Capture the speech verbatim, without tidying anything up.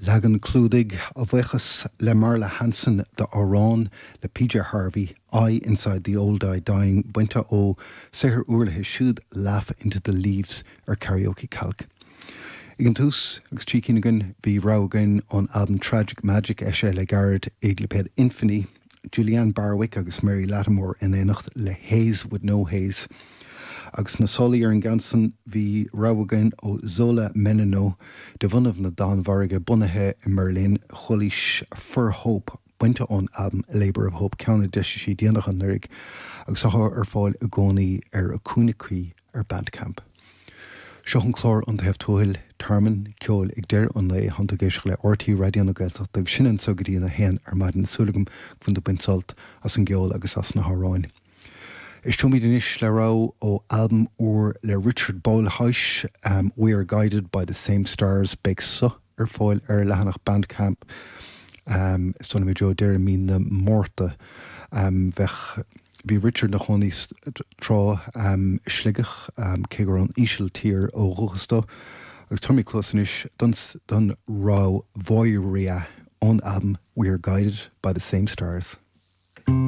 Leagan clúdaigh a bhuíochas le Marla Hanson d'amhrán le PJ Harvey, I Inside the Old Eye Dying bainte ó saothar úr léi siúd Laugh into the Leaves ar Karaoke Calc. Ag an tús agus trí cinn againn bhí rogha againn ón albam Tragic Magic eisithe le gairid ag lipéad Infinny, Julianne Barwick agus Mary Lattimore in éineacht le Haze with No Haze. Agus na solaí ar an gceann san bhí rogha againn ó Zola Menino de bhunadh na Danmhairge bunaithe i mBerlin Chuilís For Hope bainte ón albam Labor of Hope ceann a d'eisigh sí déanach anuraidh agus atá ar fáil i gcónaí ar a cúinne cuí ar Bandcamp. Seo an clár An Taobh Tuathail tearmann ceoil ag deireadh an lae tá tú ag éisteacht le RTÉ Raidió na Gaeltachta agus sin anseo go dtí a haon ar maidin súil agam go bhfuil tú ag baint sult as an gceol agus as na hamhráin. Éisteoimid anois le rogha ó albam úr le Richard Bolhuis um, We Are Guided by the Same Stars beidh so ar fáil ar leathanach Bandcamp um, is dóigh liom deireadh mí na Márta um, bheith Bhí Richard ina chónaí tráth um, Sligeach um, cé gur ón Ísiltír ó dhúchas dó, agus tabharfaimid cluas anois don, don rogha Voyria ón albam We Are Guided by the Same Stars.